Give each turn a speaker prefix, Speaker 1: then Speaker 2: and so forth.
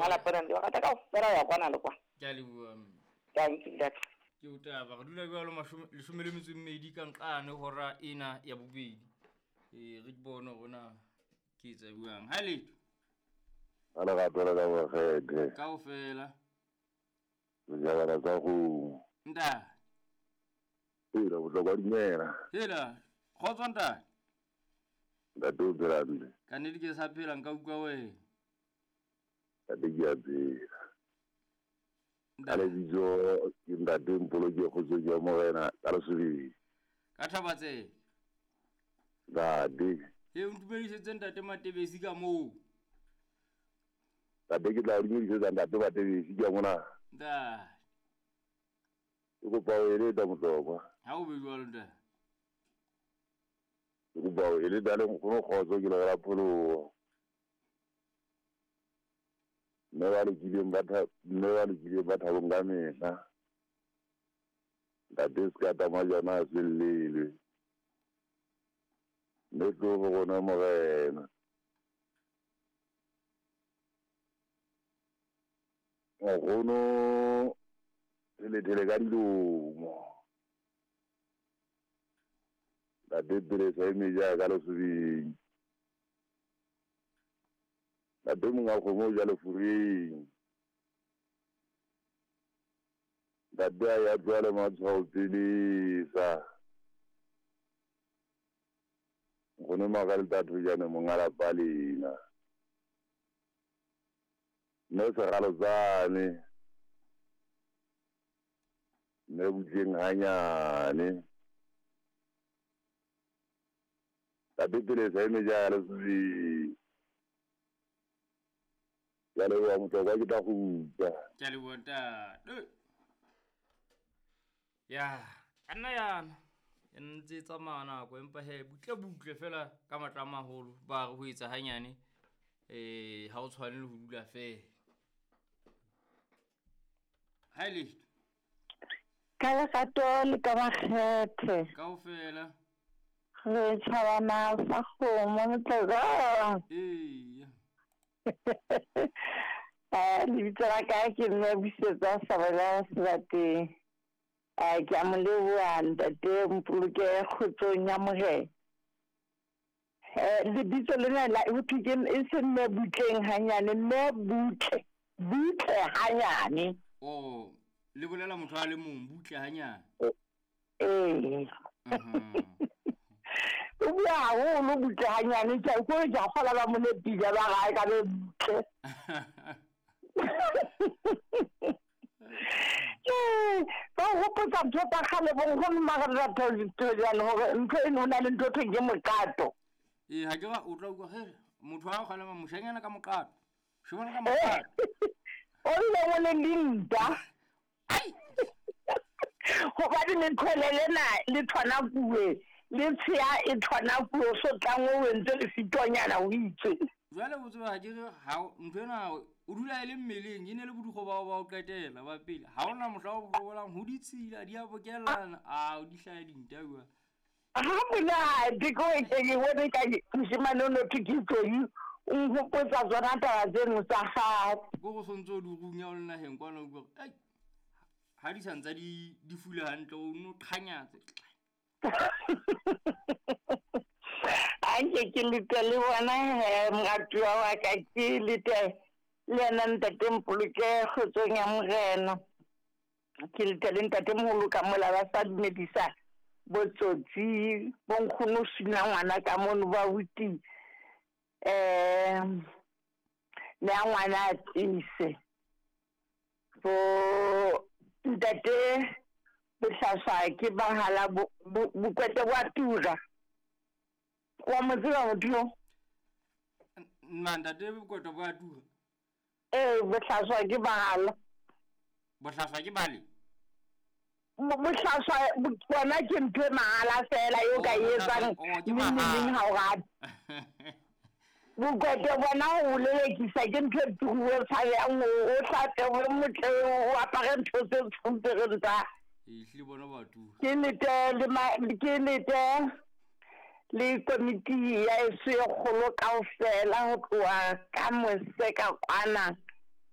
Speaker 1: Monga lapa na le rata kaofela ho ya kwana le kwana.
Speaker 2: Ke a leboha mme.
Speaker 1: Tanki ntate.
Speaker 2: Ke o taba re dula jwalo leshome le metso e mmedi ka nqane hora ena ya bobedi. Ee, re ke bone hore na ke etsa jwang. Ha letho.
Speaker 3: Ka lerato le ka makgethe.
Speaker 2: Kaofela.
Speaker 3: Sejabana sa kgomo.
Speaker 2: Ntate.
Speaker 3: Hela bohlokwa dumela.
Speaker 2: Hela, kgotso ntate.
Speaker 3: Ntate o phela hantle.
Speaker 2: Ka nnete ke sa phela nka utlwa wena.
Speaker 3: Ntate ke a phela. Ka lebitso ke ntate Mpoloke Kgotsong ya Morena ka Lesobeng.
Speaker 2: Ka Thabatsela.
Speaker 3: Ntate.
Speaker 2: He o ntumedisetse ntate Matebesi ka moo.
Speaker 3: Ntate ke tla o dumedisetsa ntate Matebesi ke mona.
Speaker 2: Ntate.
Speaker 3: Ke kopa o eletsa motlokwa.
Speaker 2: Ha o be jwalo ntate.
Speaker 3: Ke kopa o eletsa le nkgono kgotso ke le la pholoho. Mme ba lokileng ba mme ba lokileng ba thabong ka mehla. Ntate se ka tama jana a se llelwe. Mme tlo ho rona Morena. Nkgono thelethele ka dilomo. Ntate Pelesa e meja ka lesobeng. Ntate monga kgomo o ja lefureng. Ntate a ya tloha le matshwao pelesa. Nkgono Magaleta Thojane monga lapa lena. Mme Segalotsane. Mme Butleng hanyane. Ntate Pelesa e meja ya lesobeng. Ke a leboha motlokwa ke tla kgutla.
Speaker 2: Ke a leboha ntate. Ya, ka nna yana. E ntse e tsamaya nako empa he butle butle fela ka matla a maholo ba re ho etsa hanyane ha o tshwane le ho dula fela. Ha e letho.
Speaker 4: Ka lerato le ka makgethe.
Speaker 2: Kaofela.
Speaker 4: Re tjhabana sa kgomo motlokwa.
Speaker 2: Eya.
Speaker 4: Lebitso la ka ke mme Busetsa Sabela Sebateng. Ke a mo leboha ntate Mpoloke kgotsong ya Morena. Lebitso lena la ho thwe ke e se mme Butleng hanyane, mme Butle, Butle hanyane.
Speaker 2: Oh, le bolela motho a le mong butle hanyane.
Speaker 4: Ee. O bua haholo butle hanyane, ke a ko ke a kgola ba mo nepile ba gae ka be butle. Ba hopotsa ntho tsa kgale bo nkgono Magaleta hore ntho eno ho na le ntho thweng ke moqato.
Speaker 2: Ee, ha ke ra o tla utlwa he motho ha o kgalema moshanyana ka moqato. Shobana ka moqato.
Speaker 4: O ile o le dinta.
Speaker 2: Ai.
Speaker 4: Hobane lethole lena le tshwana kuwe, le tsheya e tshwana kuwe, o so tlang o entse lefitonyana o itse.
Speaker 2: Jwale o tseba ha ke re ha ntho ena o dula e le mmeleng, e ne le bodugo bao ba o qetela ba pele. Ha hona mohla o bolang ho ditshila di a bokellana, a o di hlaya dinta bua.
Speaker 4: Ha monate ko ke ke bone ka moshemane o no thwe ke Tloyi, o nhopotsa tsona taba tseno tsa kgale.
Speaker 2: Ko go sontse o di runya o le naheng kwana o utlwa hore, ai, ha di sa ntsa di fula hantle o no qhanyatse.
Speaker 4: Anke ke lete le bona he moratuwa wa ka, ke lete le yena ntate Mpoloke kgotsong ya Morena. Ke lete le ntate moholo ka mola ba sa dumedisa botsotsi, bo nkgono suna ngwana ka mono ba uti ne a ngwana a tiise. Bo ntate Bohlaswa ke bahala bokwete bo a tura. Wa mo tseba motho yo?
Speaker 2: Nna ntate bokwete bo a tura.
Speaker 4: Ee, bohlaswa ke bahala.
Speaker 2: Bohlaswa ke bale?
Speaker 4: Bohlaswa bona ke ntho e mahala fela eo ka e etsang neng le neng ha o rata. Bokwete bona ho lelekisa ke ntho e turuwe tshabehang, o hlape, o motle, o apare ntho tse tshompereng tsa.
Speaker 2: Ehlile bona ba tura.
Speaker 4: Ke lete le ke lete le komiti ya eso e kgolo kaofela ho tloha ka mose ka kwana